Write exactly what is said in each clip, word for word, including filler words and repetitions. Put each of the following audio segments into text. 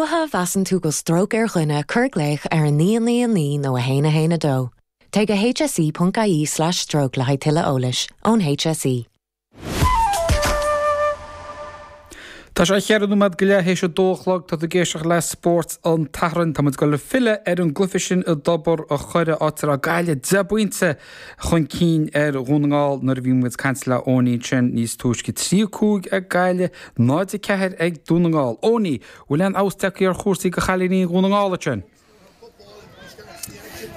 luaithe a mheasann tú go stróc ar dhuine cuir glaoch ar a naoi naoi naoi nó a haon a haon a dó. Téigh go hse.ie slash stroke le haghaidh tuilleadh eolais ón H S E. Tá sé cheithre nóiméad go leith théis a dó a chlog. Tá tú ag éisteacht le Spórt an tSathairn. Tá muid ag dul filleadh ar an gcluiche sin i dTobar an Choire, áit a raibh Gaillimh deich bpointe chun cinn ar Dhún na nGall nuair a bhí muid ag caint le Eoiní ansin níos túisce. Trí cúig ag Gaillimh, náid a ceathair ag Dún na nGall. Eoiní, bhfuil aon fheabhas tagtha ar chúrsaí do chailíní Dhún na nGall ansin?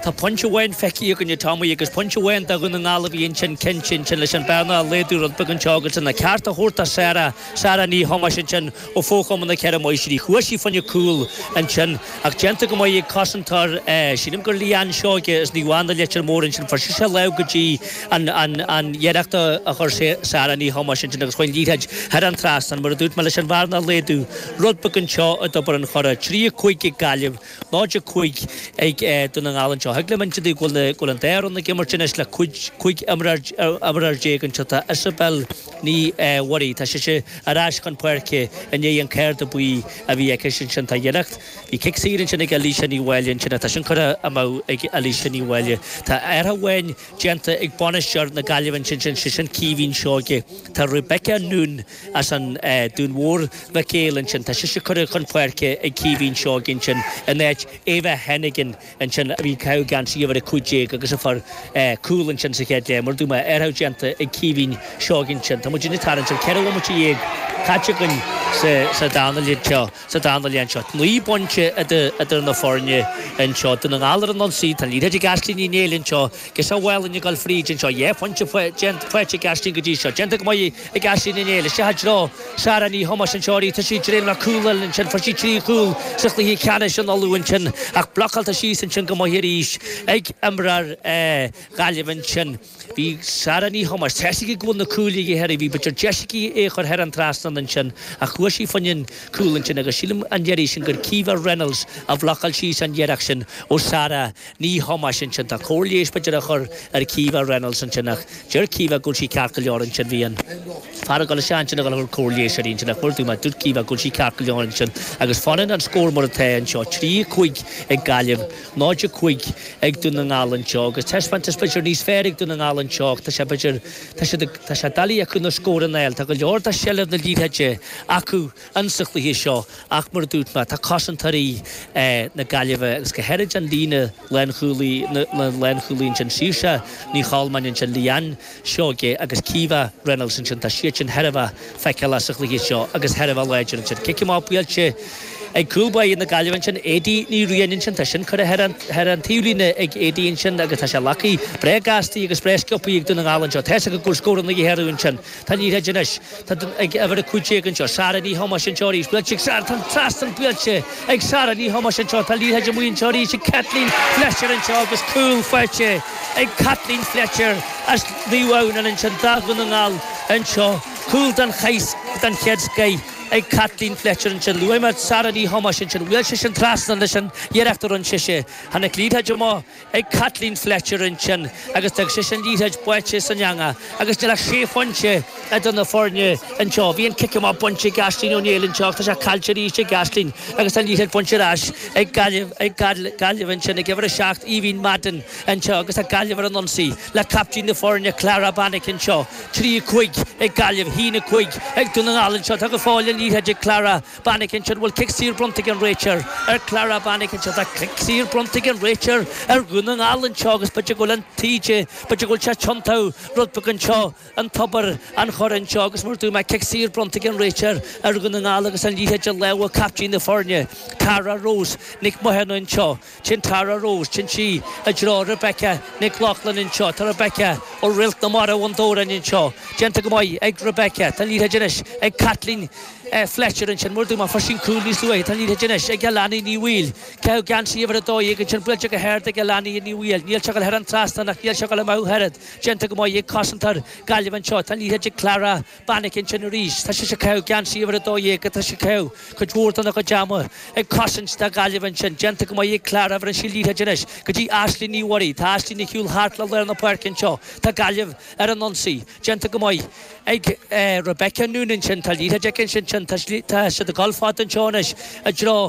Tá pointe amháin feicthe againn, Tommy, agus pointe amháin do Dhún na nGall a bhí ansin cinnte ansin leis an bearna a laghdú rud beag anseo agus an ceart a thabhairt do Sarah Sarah Ní Thomáis ansin ó Fhochumann na Ceithre Máistrí. Chuaigh sí fá choinne cúl ansin ach déanta go maith ag cosantóir, sílim gur Leanne Seoige as Naomh Anna Leitir Móir ansin. Fuair sise lámh go dtí an an an iarracht a chuir Sarah Ní Thomáis ansin agus chuaigh an liathróid thar an trasnán, mar a dúirt mé, leis an bhearna a laghdú rud beag anseo i dTobar an Choire. Trí cúig ag Gaillimh, náid a cúig ag Dún na nGall anseo. Thig liom inse go bhfuil go bhfuil an dá fhoireann ag imirt anois le cúig imreoir déag anseo. Tá Isabel Ní Mhuirí, tá sise ar ais chun páirce i ndiaidh an cárta buí a bhí aici ansin. Tá iarracht, bhí cic saor ansin ag Alicia Ní Mháille ansin, tá sin curtha amú ag Alicia Ní Mháille. Tá athrú amháin déanta ag bainisteoir na Gaillimhe ansin, sin sin Caoimhín Seoige. Tá Rebecca Noone as an Dún Mór Mhic Éil ansin, tá sise curtha chun páirce ag Caoimhín Seoige ansin in áit Eva Hennigan ansin a bhí ag caitheamh geansaí uimhir a cúig déag agus a fuair cúl ansin sa chéad leath. Mar a dúirt mé, athrú déanta ag Caoimhín Seoige ansin. Tá muid ag tarraingt ar ceithre bhomaite dhéag caite againn sa sa dara leath anseo sa dara leath anseo. Naoi bpointe idir na foirne anseo. Dún na nGall ar an ionsaí, tá an liathróid ag Aisling Ní Néill anseo, agus a bhfuil ag dul fríd anseo. Dhá phointe faighte ag Aisling go dtí seo. Déanta go maith ag Aisling Ní Néill. Isteach i dtreo Sarah Ní Thomáis anseo arís. Tá sí ag dréim le cúl eile ansin. Fuair sí trí chúl sa chluiche ceannais in Uladh ansin ach blocáilte síos ansin go maith arís ag imreoir Ghaillimh ansin. Bhí Sarah Ní Thomáis, tá a fhios aici go bhfuil na cúil ag uimhir, bhí b'fhéidir deis aici é chur thar an trasnán ansin ach chuaigh sí fá choinne an cúl ansin agus sílim an iarraidh sin gur Caoimhe Reynolds a bhlocáil síos an iarracht sin ó Sarah Ní Thomáis ansin. Tá cóir leighis b'fhéidir a chur ar Caoimhe Reynolds ansin ach deir Caoimhe go bhfuil sí ceart go leor ansin. Bhí an fear ag dul isteach ansin ag dul a chur cóir leighis uirthi ansin ach mar a dúirt mé, dúirt Caoimhe go bhfuil sí ceart go leor ansin agus fanann an scór mar atá anseo, trí cúig ag Gaillimh, náid a cúig ag Dún na nGall anseo agus taispeántas b'fhéidir níos fearr ag Dún na nGall anseo. Tá sé b'fhéidir tá sé tá sé doiligh acu na scóranna a fháil. Tá go leor de sheilbh na liathróide acu insa chluiche seo ach mar a dúirt mé, tá cosantóirí na Gaillimhe agus go háirid an líne lánchúlaí na lánchúlaí ansin, Saoirse Ní Cholmáin ansin, Leanne Seoige agus Caoimhe Reynolds ansin, tá siad sin thar a bheith feiceálach sa chluiche seo agus thar a bheith láidir ansin. Cic amach buailte ag cúl báire na Gaillimhe ansin, Adie Ní Riain ansin, tá sin curtha thar an thar an taobhlíne ag Adie ansin agus tá sé glactha breá gastaí agus breá sciobthaí ag Dún na nGall anseo. Tá a fhios acu go bhfuil scóranna de dhíth orthu ansin. Tá an liathróid anois tá ag uimhir a cúig déag anseo, Sarah Ní Thomáis anseo arís. Buailte ag Sarah, tá an trasnán buailte ag Sarah Ní Thomáis anseo. Tá liathróid amuigh anseo arís ag Kathleen Fletcher anseo agus cúl faighte ag Kathleen Fletcher as Naomh Adhamhnáin ansin do Dhún na nGall anseo. Cúl den den chéad scoith ag Kathleen Fletcher ansin. Luaigh mé Sarah Ní Thomáis ansin. Bhuail sise an trasnán leis an iarracht a rinne sise. Tháinig liathróid amach ag Kathleen Fletcher ansin agus d'fhág sise an liathróid báite san eangach agus níl ach sé phointe idir na foirne anseo. Bhí an cic amach bainte ag Aisling Ó Néill anseo ach tá sé caillte arís ag Aisling agus tá an liathróid bainte ar ais ag Gaillimh ag Gaillimh ansin ag uimhir a seacht, Aoibhín Madden anseo agus tá Gaillimh ar an ionsaí le captaen na foirne Clara Bannick anseo. Trí cúig ag Gaillimh, haon a cúig ag Dún na nGall anseo. Tá go fóill an liathróid ag Clara Bannick ansin. Bhfuil cic saor bronnta ag an réiteoir ar Clara Bannick anseo? Tá cic saor bronnta ag an réiteoir ar Dhún na nGall anseo agus b'fhéidir go bhfuil an taoide, b'fhéidir go bhfuil sé tiontú rud beag anseo i dTobar an Choire anseo agus mar a dúirt mé, cic saor bronnta ag an réiteoir ar Dhún na nGall agus an liathróid i lámha captaen na foirne, Tara Rose Nic Mathúna anseo. Sin Tara Rose, sin sí i dtreo Rebecca Nic Lochlainn anseo. Tá Rebecca ó Réalt na Mara Bhun Dobhráin anseo. Déanta go maith ag Rebecca. Tá an liathróid anois ag Kathleen Fletcher ansin. Mar a dúirt mé, fuair sí an cúl níos luaithe. Tá an liathróid anois ag Alani Ní Bhaoill. Caitheamh geansaí uimhir a dó dhéag ansin. Buailte go hard ag Alani Ní Bhaoill. Níl sé ag dul thar an trasnán ach níl sé ag dul amú oiread. Déanta go maith ag cosantóir Gaillimh anseo. Tá an liathróid ag Clara Bannick ansin arís. Tá sise ag caitheamh geansaí uimhir a dó dhéag. Tá sí ag caitheamh cuid mhór dena cuid ama ag cosaint do Ghaillimh ansin. Déanta go maith ag Clara. Bheireann sí liathróid anois go dtí Aisling Ní Mhuirí. Tá Aisling ag siúl thart le lár na páirce anseo. Tá Gaillimh ar an ionsaí. Déanta go maith ag Rebecca Noonan ansin. Tá liathróid aici ansin. Tá siad ag dul fada anseo anois i dtreo